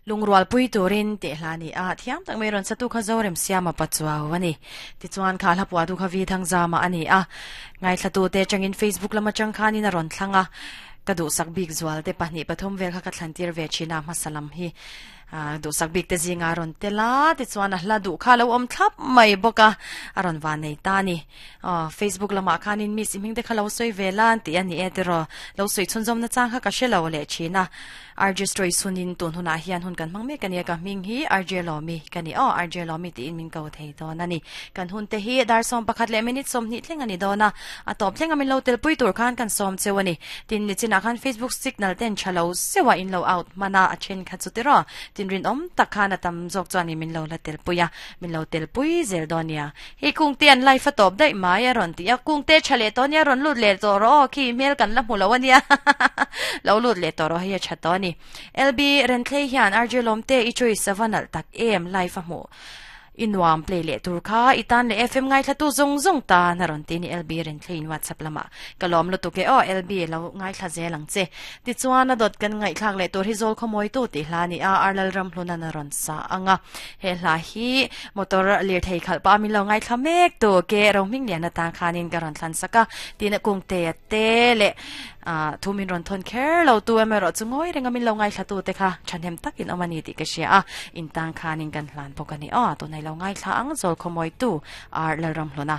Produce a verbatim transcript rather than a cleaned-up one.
Lungrual pui turin te hla ni a thiam tak mai ron satu kha zorem siama pachuaw ani ti chuan kha hla puwa tu kha vi thang zama ani a ngai thlatu te changin Facebook lama chang khanin a ron thlanga ka du sak bik zual te pahnih pathum vel kha ka thlantir ve china masalam hi du sak bik te zinga ron tela ti chuan a hla du kha lo om thlap mai boka a ron wa nei ta ni Facebook lama khanin mi simhing te kha lo soi velan ti ani e tero lo soi chunzom na chang kha ka shelo le china R J story sunin tun huna hian hun kan mangme kania ka ming hi R J Lomi kani o R J Lomi ti in min ko thei don ani kan hun te hi dar som pakhat le minute som ni thleng ani dona a top thleng amin lo tel pui tur khan kan som chewani tin ni china khan Facebook signal ten chalo sewa in lo out mana a chen kha chu tero tin rin om takhan atam jok chuani min lo la tel puya min lo tel pui zel donia hi kung te an life a top dai mai a ron ti a kung te chale to nia ron lut le to ro khi mel kan la hmu lo ania lo lut le to ro hi a chato ni L B Rentley hian R J Lomte i choice savanal tak em life a mu inuam play le turkha itan le F M ngai thlatu zong zong ta na ron ti ni L B Rentley in WhatsApp lama kalom lu tu ke o L B lo ngai thla zelang che ti chuan a dot kan ngai thlak le tur hi zol khomoi tu ti hla ni a arlal ram hluna na ron sa anga he hla hi motor lir thei khal pa mi lo ngai thla mek tu ke rong ming lian ta khanin ka ron thlan saka tin kung te te le a thumin ron thon kher lo tu eme ro chungoi renga min lo ngai thla tu te kha thanem takin omani ti ka sia a in tang khanin kan hlan pokani a tu nai lo ngai thla ang zol khomoi tu ar lalram hluna.